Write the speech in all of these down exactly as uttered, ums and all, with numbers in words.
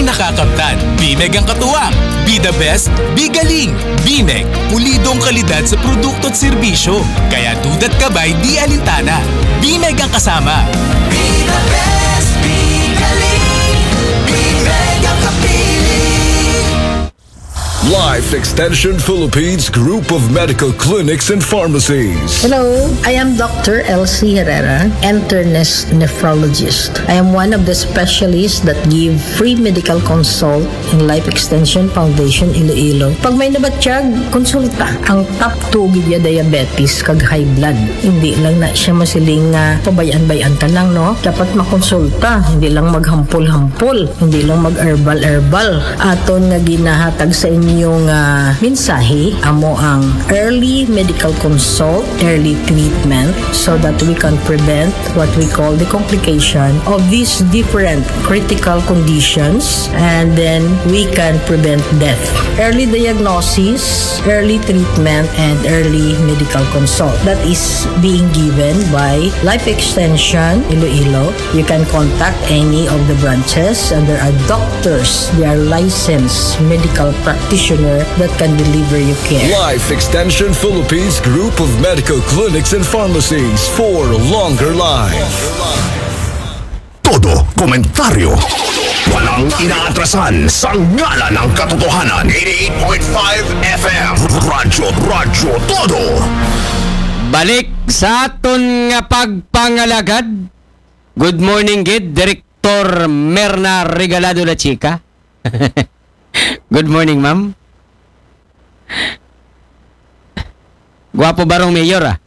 Nakakamtan. Bimeg ang katuwang. Be the best, be galing. Bimeg, pulidong kalidad sa produkto at serbisyo. Kaya duda't kabay, di alintana. Bimeg ang kasama. Be the best, be galing. Bimeg ang kapili. Life Extension Philippines Group of Medical Clinics and Pharmacies. Hello, I am Doctor Elsie Herrera, internist nephrologist. I am one of the specialists that give free medical consult in Life Extension Foundation Iloilo. Pag may nabatyag, konsulta. Ang top two gid ya diabetes kag high blood. Hindi lang na siya masiling nga pabayan-bayan ka lang, no? Dapat makonsulta, hindi lang maghampol-hampol, hindi lang mag-herbal-herbal. Aton nga ginahatag sa inyo nga mensahe, amo ang early medical consult, early treatment, so that we can prevent what we call the complication of these different critical conditions, and then we can prevent death. Early diagnosis, early treatment, and early medical consult. That is being given by Life Extension Iloilo. You can contact any of the branches, and there are doctors, they are licensed medical practitioner that can deliver you care. Life Extension Philippines Group of Medical Clinics and Pharmacies for longer life. Todo komentaryo, walang inaatrasan sa ngalan ng katotohanan. Eighty-eight point five F M. Radyo, Radyo Todo. Balik sa aton nga pagpangalagad. Good morning gid, Director Merna Regalado La Chica. Good morning, ma'am. Guwapo barong mayor, ah.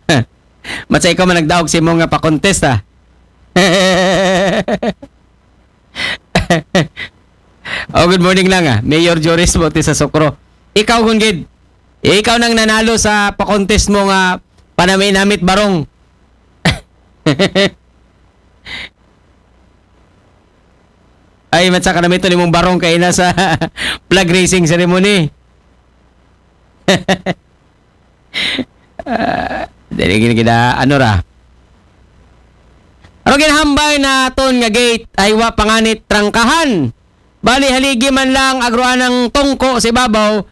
Matsa ikaw man nagdaog sa imo nga pa-contest, ah. Oh, good morning lang, ah. Mayor Joris Bautista Socro. Ikaw, Gunggid. Ikaw nang nanalo sa pa-contest mo nga panamit-namit barong. Ay, matsa ka na mito nimong barong kay na sa flag raising ceremony. Ah, dili gid kita, ano ra. Pero ginhambal na aton nga gate ay wa panganit trangkahan. Bali, haligi man lang agroan ng tungko sa ibabaw,